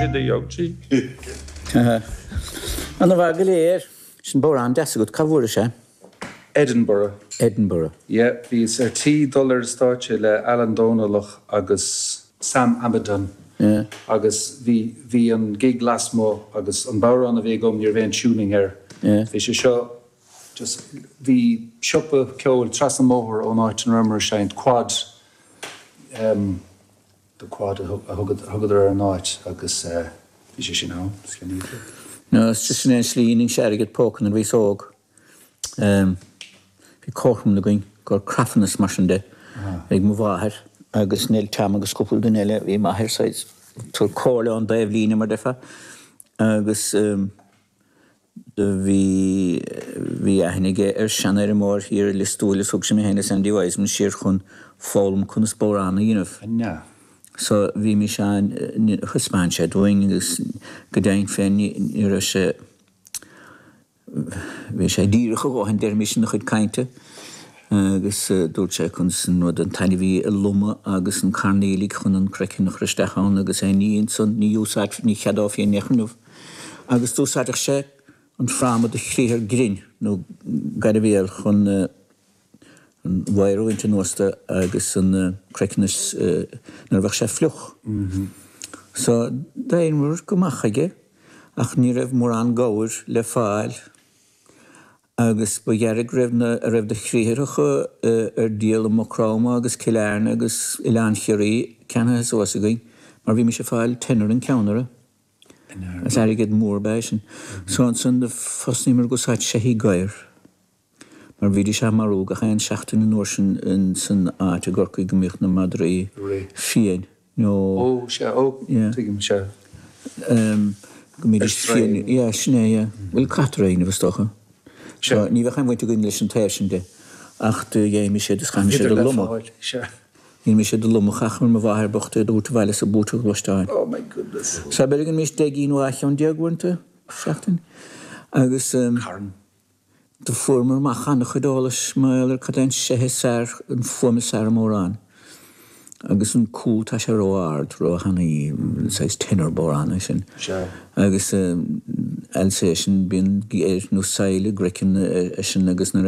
sé do gheoití. Ana mhaith go léir. Sin bodhrán deas agat, cá bhfuairis é? Edinburgh. Edinburgh. Yeah, bhíos ar tí dul ar an stáitse le Alan Domhnallach agus Sam Amidon Yeah. agus bhí, bhí an gig lasmuigh agus an bodhrán a bhí agam ní raibh aon tuning air. Yeah. Bhí sé seo just, bhí siopa ceoil trasna an mbóthar ón áit ina rabhamar ag seinnt, Quad, em, The Quad a thugadar ar an áit agus bhí sé sin ann, is ceannaíodh é. No, sin é an slí a ndeinse airgead póca nuair a bhíos óg. Bhí comharchumann againn gur crafanna is mar sin de ag mo mháthair agus Nell Tom agus cúpla duine eile, bhí m'athair saghas ag tabhairt comhairle ón dtaobhlíne mar deirfeá agus Do bhí, bhí aithne aige ar seanfheirmeoir thiar i Lios Tuathail is thug sé mé féin is Andy Wiseman siar chun foghlaim conas bodhrán a dhéanamh. An ea? So bhí mise ann, thaispeáin sé dúinn agus go deimhin féin ní, ní raibh sé, bhí sé díreach a dhóthain deirimis ina chuid cainte agus dúirt sé conas an rud, an t-ainmhí a lomadh agus an carn aoiligh chun an craiceann a chur isteach ann agus aon ní ansan, ní úsáid, ní cheadófaí in aon chor inniu. Agus d'úsáideadh sé an fráma de chriathar grinn nó gairbhéal chun an wire a bhaint anuas de agus an craiceann nuair a bheadh sé fliuch. So d'éiríomar go maith chuige ach ní raibh mórán gabhair le fáil agus ba ghearr go raibh na, a raibh de chriathracha ar díol i Maigh Chromtha agus Cill Airne agus Oileán Chiarraí ceannaithe suas againn mar bhímis ag fáil tenner an ceann orthu. Is airgead mór ab ea é sin. So ansan do thosnaíomar ag úsáid seithí gadhair mar bhídís á marú gach aon seachtain an uair sin in san áit i gCorcaigh go mbíodh na madraí fiain nó Ó, sea, ó, tuigim, sea. Go mbídís fiain, yeah, sin é, yeah. Bhuel, caitear é inniu is dócha. So ní bheadh aon bhaint againn leis an taobh sin de ach do gheibhimis iad is chaithimis iad a lomadh. Dhéanaimis iad a lomadh, chaitheamar mo mháthair bocht iad a thabhairt abhaile sa búta ghluaisteáin. Oh my goodness. So b'fhéidir go ndéanaimis 10 gcinn nó 12 cheann uaireanta sa seachtain agus Carn. do fuaireamar amach an-chuid eolais mar gheall ar cad é an seithe is fearr, an fuaim is fearr i mbodhrán. Agus an cúl tá sé ró-ard, ró-thanaí, saghas tenor bodhrán é sin. Sea. Agus Alsatian bíonn geir nó saill i gcraiceann eisean agus nuair a.